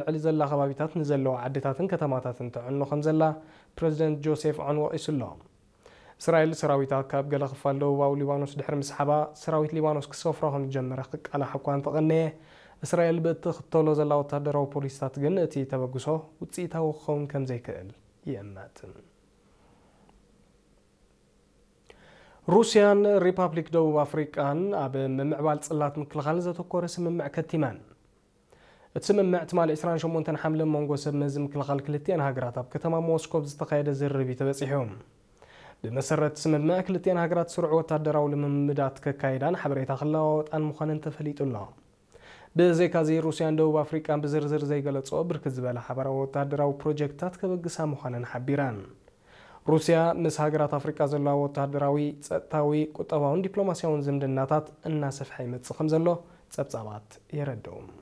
ልዕሊ ዘላ ከባቢታት ንዘለዋ ዓድታትን ከተማታትን ተዕኖ ከም ዘላ ፕረዚደንት ጆሴፍ ዖን ወቒሱ ኣሎ። እስራኤል ሰራዊታ ካብ ገለ ክፋል ደቡባዊ ሊባኖስ ድሕሪ ምስሓባ፣ ሰራዊት ሊባኖስ ክሰፍሮ ከም ዝጀመረ ክቃላሕ እኳ እንተቐነየ፣ እስራኤል ብእትኽተሎ ዘላ ወታደራዊ ፖሊሲታት ግን እቲ ተበግሶ ውፅኢታዊ ክኸውን ከም ዘይክእል ይእመት። ሩስያን ሪፓብሊክ ደቡብ ኣፍሪቃን ኣብ ምምዕባል ጽላት ምክልኻል ዘተኮረ ስምምዕ ከቲመን። እቲ ስምምዕ ትማሊ ዕስራን ሸሞንተን ሓምለ መንጎ ሰብ መዚ ምክልኻል ክልቲኣን ሃገራት ኣብ ከተማ ሞስኮ ብዝተኻየደ ዝርርብ እዩ ተበጺሑ። ብመሰረት ስምምዕ ክልቲኣን ሃገራት ስሩዕ ወታደራዊ ልምምዳት ከካይዳን ሓበሬታ ክለዋወጣን ምዃነን ተፈሊጡ ኣሎ። ብዘይካዚ ሩስያን ደቡብ ኣፍሪቃን ብዝርዝር ዘይገለጾ ብርክት ዝበለ ሓበራዊ ወታደራዊ ፕሮጀክትታት ከበግሳ ምዃነን ሓቢረን። ሩስያ ምስ ሃገራት ኣፍሪቃ ዘለዋ ወታደራዊ፣ ጸጥታዊ፣ ቁጠባውን ዲፕሎማስያውን ዝምድናታት እናሰፍሐ ይመጽእ ከም ዘሎ ጸብጻባት የረድኡ።